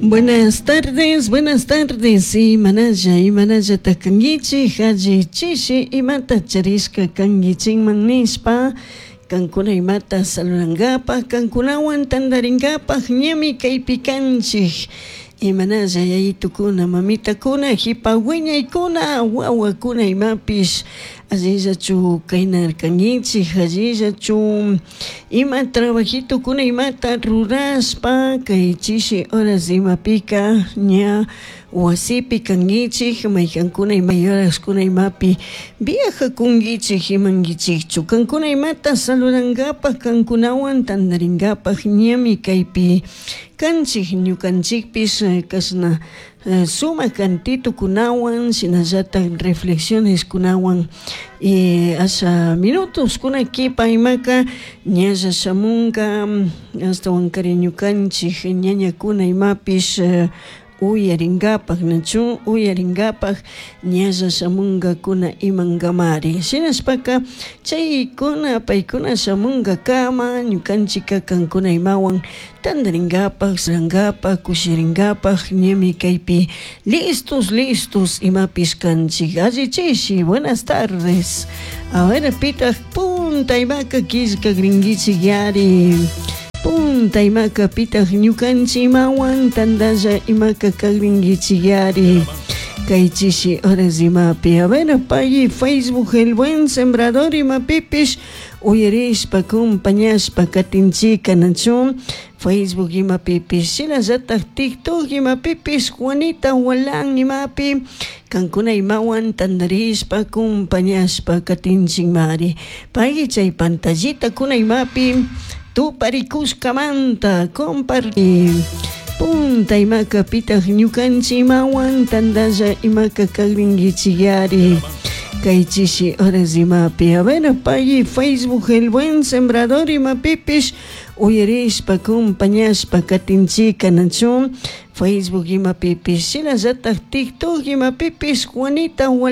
Buenas tardes, buenas tardes. Imanalla, imanallata kankichik, alli chishi imata charishka kankichikman nishpa, kankuna imata saludankapak, kankunawan tantarinkapak ñami kaypi kanchik. Imanalla yayitukuna, mamitakuna, hipa wiñaykuna, wawakuna imapish allillachu kaynarkankichik, allillachu ima trabajitukuna imata rurashpa kay chishi horas imapika ña wasipi kankichik, maykankuna ima horaskuna imapi viajakunkichik imankichikchu. Kankuna imata saludankapak, kankunawan tantarinkapak ñami kaypi kanchik, ñukanchikpish kashna sumak cantitukunawan shinallatak reflexioneskunawan y asha minutoskuna kipa imaka ñalla shamunka ashtawankari ñukanchik ñañakuna imapish uyarinkapak nachu uyarinkapak ñalla shamunkakuna imankamari shinashpaka chaykuna paykuna shamunkakama ñukanchika kankuna imawan tantarinkapak sarankapak kushirinkapak ñami kaypi listos listos imapish kanchik. Alli chishi, buenas tardes. A ver, pitaq punta imaka killkakrinkichik yari. Punta imaka pitaq ñukanchik imawan tantalla imaka kakrinkichik yari. Kay chishi horas imapi. A ver, pay Facebook El Buen Sembrador imapipish uyarishpa compañashpa katinchika nachu Facebook imapipish shinallatak TikTok imapipish Juanita Walán imapi kankuna imawan tantarishpa compañashpa katinchikmari. Pay chay pantallita kuna imapi tuparikushkamanta compartir. Punta imaka pitaq ñukanchik imawan tantalla imaka kakrinkichik yari. Kay chishi horas imapi. A ver, pay Facebook El Buen Sembrador imapipish uyarishpa compañashpa katinchika nachu Facebook imapipish shinallatak TikTok imapipish Juanita Walán.